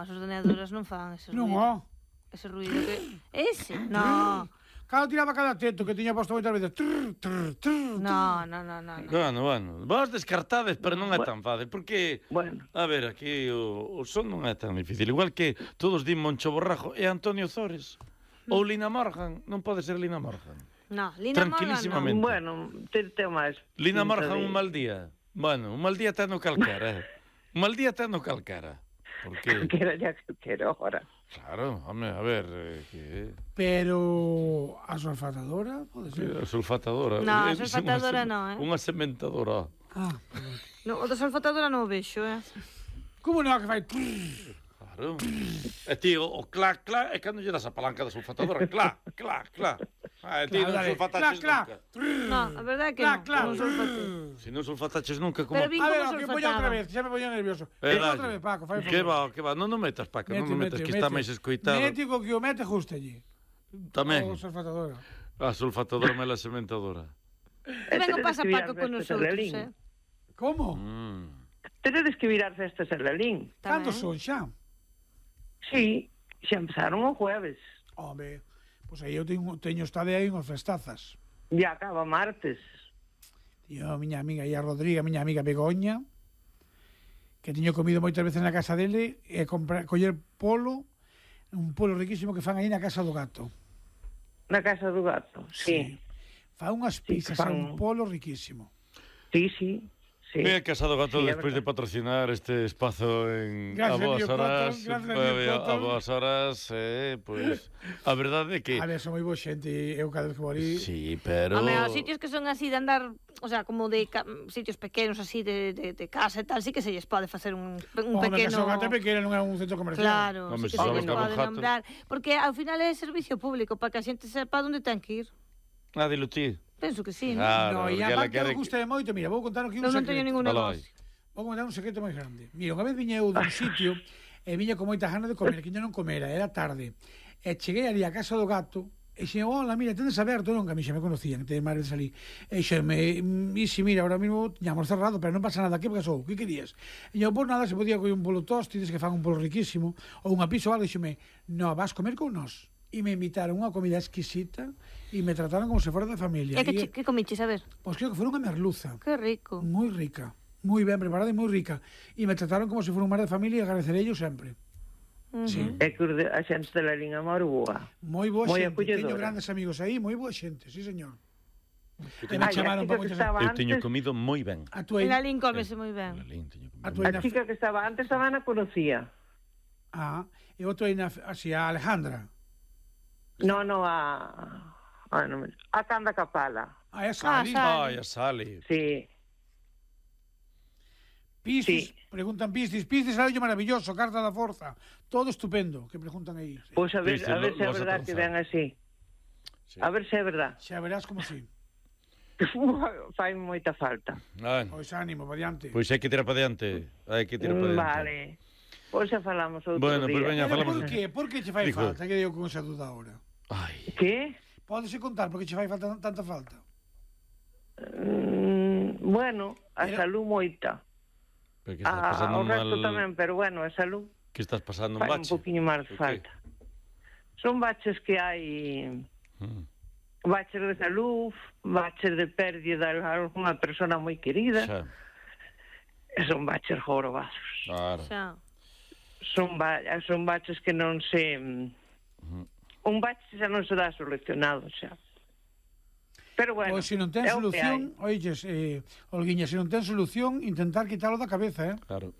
as ordenadoras non fan ese Non, ruido. ó. Ese ruido que... Ese? No. Calo tiraba cada teto que tiña posto moitas veces. No. Bueno. Vos descartades, pero non é tan fácil. Porque, Bueno. a ver, aquí o son non é tan difícil. Igual que todos din Moncho Borrajo e Antonio Zores. Ou Lina Morgan. Non pode ser Lina Morgan. No, Lina Morgan Tranquilísimamente. Bueno, ten máis. Lina pinta Morgan de- un mal día. Bueno, un mal día teno calquera. Un mal día teno calquera. Porque, Que era ya que era hora. claro, home, a ver, que... Pero a sulfatadora pode ser. A sulfatadora. No, a Eu dixen sulfatadora non, Unha sementadora. Ah, No, o da sulfatadora non o vexo, como non que fai? Claro. E ti, o clac, é cando lle das a palanca da sulfatadora. Clac. E ti non sulfataches nunca. No, a verdade é que non sulfatei. Se non sulfataches nunca, como... Pero vi A ver, como que poña outra sulfataba. vez, xa me poño nervioso. Dalle. Outra vez, Paco, fai Que va, non metas, Paco, non metas, que está máis escoitado. Mético que o mete justo allí. Tamén, O sulfatadora. a sulfatadora me la sementadora. Que ben o pasa Paco con nosotros, Como? Teredes que virar festas en Lalín. Cando son xa? Sí, xa empezaron o jueves. Home, pois aí eu teño estade aí unhas festazas. Ya acaba martes. E a miña amiga, a Rodriga, a miña amiga Begoña, que teño comido moitas veces na casa dele, e coller polo, un polo riquísimo que fan aí na casa do gato. Na casa do gato, sí. Fan unhas pizzas, fan- un polo riquísimo. Sí. Me he casado gato Sí, é despois de verdad. patrocinar este espazo en Gracias, a boas Río horas. Cotton, gracias, Río A Cotton. boas horas, pois a verdade é que A ver, son moi boa xente, e eu cada vez que vou ali... sí, pero Home, os sitios que son así de andar, o sea, como de sitios pequenos así de casa e tal, sí que se lles pode facer un Home, que pequeno... son gato pequeno, non é un centro comercial. Claro, Home, sí se que se sabes lles que é un pode jato. nombrar, porque ao final é servicio público para que a xente sepa onde ten que ir. dilo ti. Penso que sí, No, Claro, e porque a ela parte quere que gusta moito, mira, vou contar aquí un Eu non secreto. teño ningún Alá vai. negocio. Vou contar un secreto moi grande. Mira, unha vez viña eu dun sitio e viña con moita gana de comer, que non comera, era tarde. E cheguei ali a casa do gato e xe, hola, mira, tendes aberto, non, que a mí xa me conocían, que ten máis veces ali. E xe, si, mira, ahora mismo tiñamos cerrado, pero non pasa nada, que pasou? Que querías? E eu, pues nada, se podía comer un polo tostides, que fan un polo riquísimo, ou unha pizza ou algo, e xeme, no, vas comer con nós. E me invitaron unha comida exquisita e me trataron como se fora da familia. E que comiches, a ver? Pois creo que foi unha merluza. Que rico. Moi rica, moi ben preparada e moi rica. E me trataron como se fora un mar de familia e agradecerei yo sempre. Sí. É que a xente de Lalín é moi boa. Moi boa Moi xente. acolledora. Teño grandes amigos aí, moi boa xente, sí, señor. E me Ai, chamaron a para chica que moitas... estaba Eu teño antes, comido moi ben. A tua... En Lalín cómese moi ben. A tua... a chica que estaba antes tamén a conocía. Ah, e o tua... Así, a Alejandra. No, a Canda Capala. A esa ali. Sali. Ai, a Sali. Sí. Piscis, Sí. preguntan Piscis, algo maravilloso, carta da forza, todo estupendo, que preguntan aí. Sí. Pois a ver Viste, se é lo vas a verdad que transar. ven así. Sí. A ver se é verdad. Xa verás como si. Fai moita falta. Pois ánimo, pa diante. Pois hai que tirar para diante. Hai que tirar para diante. Vale. Pois xa falamos outro Bueno, día. pois veña, Pero falamos... por que che fai Dijo. falta? Que digo con esa duda ahora. Ai, Que? Pódese contar por que che fai falta tanta falta? Bueno, a Pero- salud moita. pero que estás pasando O resto mal... tamén, pero bueno, a salud Que estás pasando un fai un bache? poquinho máis Por que? falta. Son baches que hai... Mm. Baches de salud, baches de pérdida de alguna persona moi querida, Xa, e son baches jorobados. claro. Xa. Son baches que non se... Un bache xa non se dá solucionado, xa. Pero bueno, Pois se non ten é o que solución, oiches, Olguiña, se non ten solución, intentar quitalo da cabeza, Claro. hai.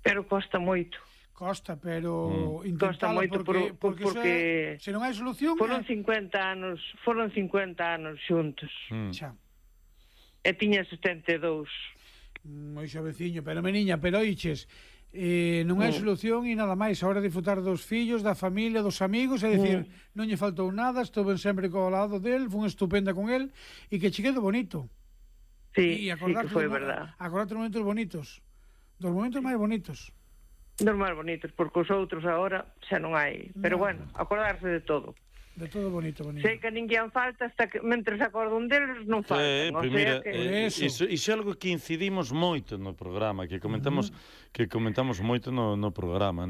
Pero costa moito. Costa, pero Costa intentalo moito porque iso porque se non hai solución, foron 50 anos xuntos. xa. E tiña 72. Moi xoveciño, pero meniña, pero oiches, non hai solución e nada máis, a hora de disfrutar dos fillos, da familia, dos amigos, é dicir, non lle faltou nada, estuve sempre co lado del, fun estupenda con el e que che quedo bonito. Sí, E sí que foi verdad. Acordate dos momentos bonitos, dos momentos máis bonitos. Dos máis bonitos, porque os outros agora xa non hai. Pero No. bueno, acordarse de todo. De todo bonito, bonito. Sei que ninguén falta hasta que mentres acordan deles non faltan. O Pois sea mira, que... Eso. iso é algo que incidimos moito no programa, que comentamos moito no programa.